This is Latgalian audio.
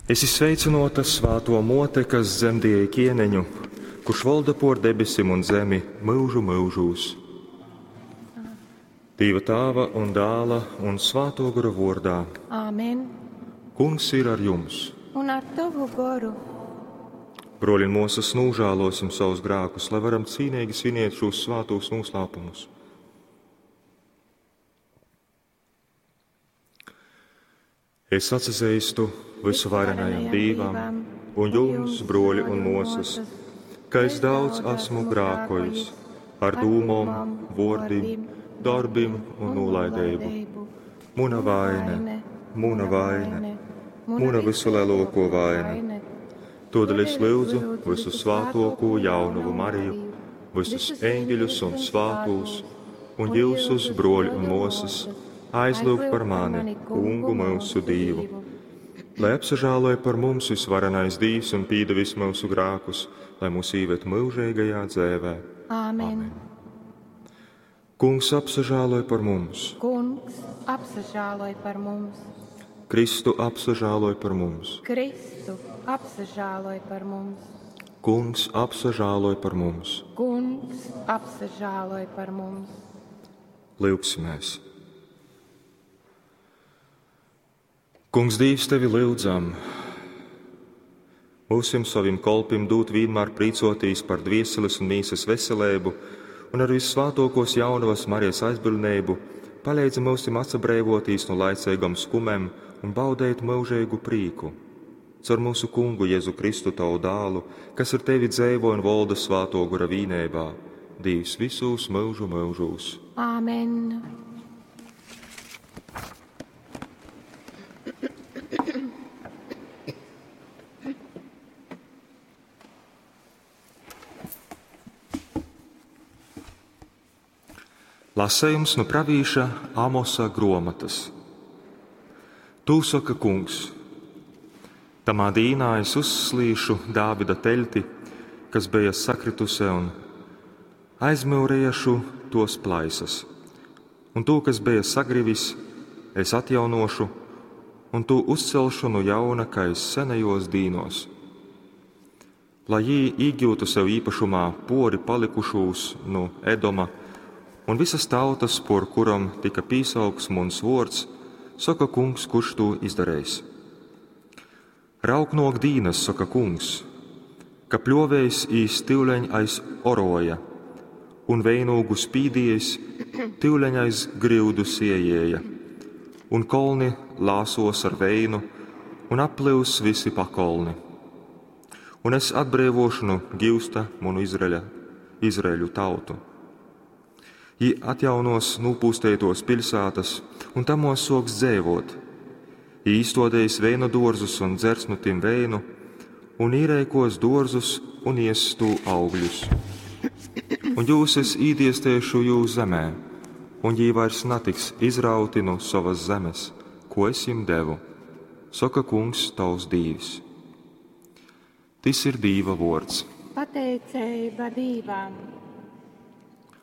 Esi sveicynōta, svātō mōte, kas dzemdieji kieneņu, kurš volda pōr debesim un zemi myužu myužūs. Dīva Tāva un Dāla un Svātō Gora vōrdā. Āmen. Kungs ir ar jums. Un ar tovu goru. Brōļi un mōsas, nožēlosim savus grēkus, lai varam cīnīgi svinēt šos svātos noslēpumus. Es atsazīstu visuvarenajam Dīvam un jums, broļi un mōsas, ka es daudz esmu grēkojis ar dūmom, vōrdim, darbim un nūlaideibu. Muna vaine, muna vaine, muna visulielāko vaina. Todēļ es lūdzu visu svātoko jaunavu Mariju, visus eņģeļus un svātos, un jūsus, broļi un mōsas, aizlūgt par mani, Kungu mūsu Dīvu. Lai apsažāloja par mums visvarenais Dīvs un pīdevis mūsu grēkus, lai mūs īved mūžīgajā dzēvē. Āmen. Kungs apsažāloja par mums. Kungs apsažāloj par mums. Kristu apsažāloj par mums. Kristu apsažāloj par mums. Kungs apsažāloj par mums. Kungs apsažāloj par mums. Lūgsimies! Kungs Dīvs, tevi lūdzam, mūsim savim kolpim dūt vienmēr priecotīs par dvieseles un mīsas veselību un ar vissvātokos jaunavas Marijas aizbildnību palīdzi mūsim atsabrēvotīs no laicīgam skumēm un baudēt mūžīgu prīku. Caur mūsu kungu Jēzu Kristu tavu dālu, kas ar tevi dzēvo un volda svāto gura vīnībā, Dīvs visūs mūžu mūžūs. Āmen. Lasējums no pravīša Amosa grāmatas. Tū saka kungs: Tamā dīnā es uzslīšu Dāvida teļti, kas bija sakrituse, un aizmūrēšu tos plaisas. Un to, kas bija sagrivis, es atjaunošu, un to uzcelšu no jauna, kā es senajos dīnos. Lai jī iegūtu sev īpašumā pori palikušūs no Edoma, un visas tautas, por kuram tika pīsaukts muns vōrds, saka kungs, kurš to izdarējis. Rauk nok dīnas, saka kungs, ka pļovējs īs tyuleņ aiz oroja, un veinūgu spīdiejs tyuleņ aiz griudu siejēja, un kolni lāsos ar veinu, un aplius visi pakolni. Un es atbrīvošu no giusta manu Izraeļa, Izraeļu tautu. Jī atjaunos nūpūsteitos pilsētas un tamos soks dzēvot. Jī īstodējis veinu dārzus un dzers nu tim veinu, un īrēkos dārzus un ies tū augļus. Un jūs es īdiestēšu jūs zemē, un jī vairs natiks izrauti no savas zemes, ko es jim devu, saka kungs tavs dīvs. Tis ir Dīva vārds. Pateicība Dīvam!